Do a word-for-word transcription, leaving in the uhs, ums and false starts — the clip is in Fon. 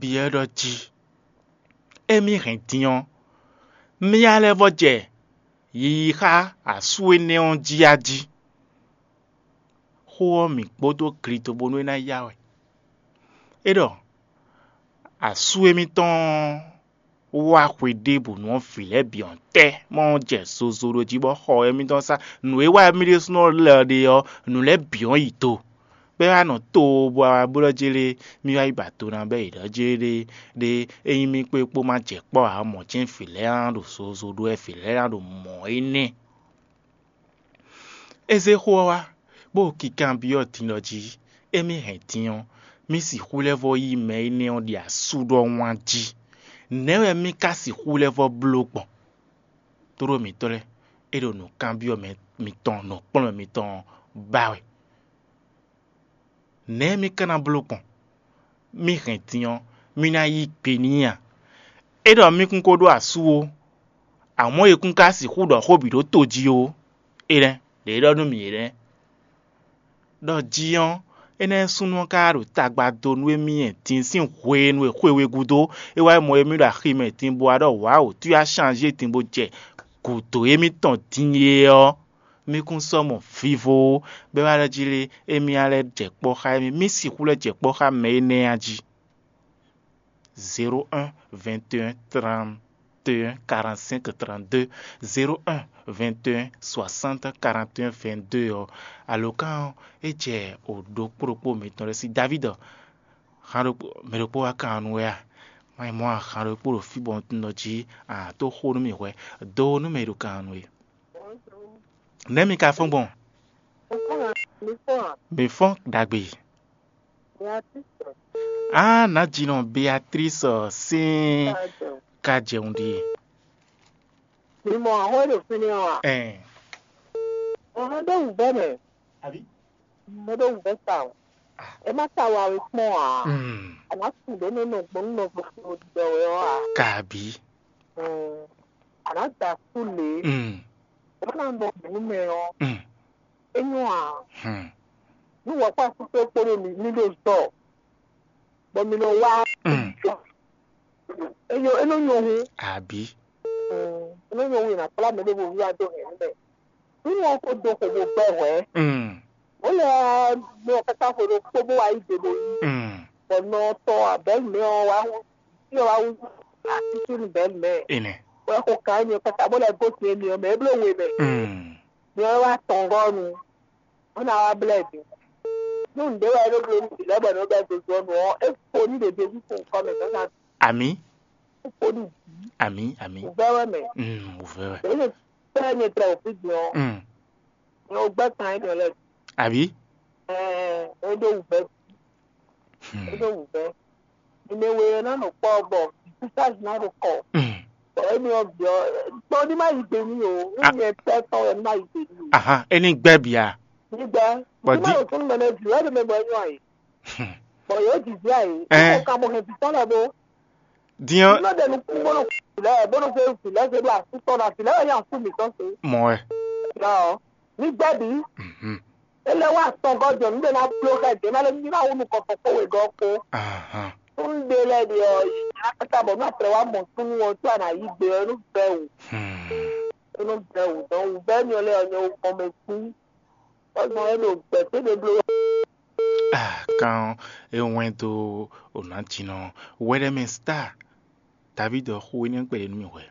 byɔ́ ɖɔ jí: Émí hɛn din ɔ́, mía lɛ́ vɔ́ jɛ yiyi xá asú énɛ́ ɔ́ jí a jí? Xó ɔ́ mǐ kpódó glito bónú é ná yá wɛ. É ɖɔ asú émítɔn ɔ́ wá xwe ɖěbǔ nú ɔ́ vǐ lɛ́ɛ bǐ ɔ́ tɛ́ mɔ ɔ́ jɛ zozo ɖo jí bɔ xɔ émítɔn sá nǔ e wa émí ɖésúnɔ lɛ ɖe ɔ́, nǔ lɛ́ɛ bǐ ɔ́ yi do. Bɔ é wá nɔ to bɔ wá blɔ́ jélé, mì wá yi ba to ná bɔ yě ɖɔ jélé ɖé, ényí mì kpé kpó ma jɛ kpɔ́ ǎ, mɔ̌ jɛ́n vǐ lɛ́ɛ ná ɖo zozo ɖó wɛ, vǐ lɛ́ɛ ná ɖo mɔ̌ énɛ́. É zé xó ɔ́ wá, bó kinkanbyɔ́ din ɖɔ jí: Émí hɛn din ɔ́, mì sixú lɛ́ vɔ́ yí mɛ énɛ́ ɔ́ ɖi asú ɖɔhun a jí? Nɛ̌ wɛ mì ka sixú lɛ́ vɔ́ bló gbɔn? Tlóló mǐtɔn lɛ́ɛ, é ɖo nǔkanbyɔ́ mɛ mitɔn nǔkplɔ́nmɛ mitɔn ɔ́ ba wɛ. Nɛ̌ mì ka ná bló gbɔn? Mì hɛn din ɔ́, mì ná yí gbe n'i a? É ɖɔ mì kún ko ɖó asú ó, amɔ̌ è kún ka sixú ɖɔ xó bǐ ɖó to jí ó. É nɛ́, ɖě é ɖɔ nú mì é nɛ́. Ɖɔ jí ɔ́, énɛ́ súnnu ɔ́ ka ɖo tagba dó nú émí din sín hwenu e xwe we gúdo é wá yi mɔ émí ɖo axi mɛ din bó wá ɖɔ wǎ wǒ, tú wá shanzé din bó jɛ gǔdo émítɔn din é ɔ́, mì kún sɔ́ mɔ vivo ó, bɔ é wá ɖɔ jí lé, émí ná lɛ́ jɛ kpɔ́ xá émí, mì sixú lɛ́ jɛ kpɔ́ xá mɛ énɛ́ a jí. Zéro un, vingt et un, trente et un, quarante-cinq, trente-deux, zéro un, vingt et un, soixante, quarante et un, vingt-deux ɔ́, alǒkan ɔ́, é jɛ o ɖokpó ɖokpó mǐtɔn ɖé sí. David, han ɖokpó, mɛ ɖokpó wá kan nú wɛ a? Má nyí mɔ̌ a, han ɖokpó ɖo fí bɔ un tunwun ɖɔ jí a tó xó nú mì hwɛ, do nú mɛ e ɖo kan nú we. Nɛ̌ mi ka fɔ́n gbɔn? Mi fɔ́n ɖagbe. Á, nǎjínɔ Beatrice sín ka jɛun ɖíe. Mi mɔ ahɔn e ɖo fínɛ́ ɔ́ a? Ɛn. Ahɔn ɖó wǔvɛ́ mɛ. Àbí? Mɛ ɖó wǔvɛ́ sa o. Ɛ má sa wa wé kpɔ́n ǎ. Mm. A nǎ su ɖě nɔ nɔ gbɔn nú nɔvo ɖiɖɔ wɛ ɔ́ ǎ. Kàbí. Mm. A nǎ da asú lě. Mm. Ɛ má ná nɔ gbɔn nú mɛ ɔ́. Mm. É nyɔ́ ǎ. Hmm. Nú wǎkpá asú kpó kpódó mi ní ɖo zɔ, bɔ mi nɔ wá. Mm. É nyɔ́, é nɔ nyɔ́ hu. Àbí. Mm. É nɔ nyɔ́ hu è nǎ kplá mɛ ɖěvo wá dó hɛ̌nnu mɛ. Nú wọn ko dó xo bó gbɛ́ hwɛ̌. Mm. Bó lɛ́ nɔ káká xwe ɖokpó bó wá yí gbe bó yí. Mm. Bɔ nɔ tɔn abɛ̌lu mɛ ɔ́ wá hú, fí ɔ́ wá hú asísú nú bɛ̌lu mɛ. Énɛ́. Bó lɛ́ xo kan énɛ́ káká bó lɛ́ gosín énɛ́ ɔ́ mɛ, é bló we mɛ. Mm. Nyɛ wɛ wá tɔn gɔ́ nu, bó ná wá blɛ́ bǐ. Nú nǔɖé wɛ é ɖó bló nú vǐ lɛ́ɛ bɔ è nɔ bɛ́ zozo ɔ́ nu ɔ́, é fo ní ɖě Jezu fun nǔkɔ mɛ zǎnzǎn. Amǐ. É fo ní bǐ. Amǐ, amǐ. Wǔvɛ́ wɛ mɛ. Mm, wǔvɛ́ wɛ. Èyí lè tɛ́ nyɛ tlɛ wǒ fí din ɔ́, Mm. nyɛ wǒ gbɛ́ kan énɛ́ lɛ́ɛ. Àbí? Ɛɛ, é ɖó wǔvɛ́. Hmm. É ɖó wǔvɛ́. Mimɛ we ɔ́ ná nɔ kpɔ́ bɔ vǐ sísázi ná ɖo kɔ. Hmm. Bɔ émi ɔ́ vǐ ɔ́, gbɔn ní má yi gbe n'i o. Nú Ah. nyɛ tɛ́ tɔn wɛ ní má yi gbe n'i o. Ahan, é ní gbɛ́ bǐ a? Ní gbɛ́. Bɔ Ní má dí- ɖo súnnu mɛ nɛ́ vǐ wɛ ɖo mɛ bɔ é nyɔ́ ayǐ. Hmm. Bɔ yǒ jijɛ ayǐ. Ɛ. Kókó ka mɔ hɛn vǐ tɔn lɛ́ɛ bó. Din ɔ́, Ní nɔ ɖe nukún bó nɔ fí lɛ́ɛ, bó nɔ fɛ fí lɛ́ɛ fɛ ɖo asú tɔn ná fí lɛ́ɛ wɛ nyí asú mǐtɔn se. Mɔ wɛ. Yɔ, ní gbɛ́ bǐ. Mhm. É lɛ́ wá sɔgɔ́ jɔ nǔɖé ná bló xɛ dě ná lé ní ná wú nukɔn tɔn kpó wegɔ́ kpó. Ahan. Nú un ɖe lɛ́ɛ ɖe ɔ́, yě ná káká bɔ nú a tlɛ wá mɔ súnnu ɔ́, có a nǎ yí gbe ɔ́, é nú vɛ́ wǔ. Hmm. É nú vɛ́ wǔ dɔn wǔvɛ́ nyɔ lɛ́ɛ ɔ́, nyɛ wú gbɔn mɛ sín. Tɔ́gbɔn é ɖo gbɛ̌ cé ɖé bló wɛ. Ah, kan e wɛn dó o nǎ jínɔ wɛɖɛmɛ star David ɔ́ xó énɛ́ kpɛɖé nú mì hwɛ.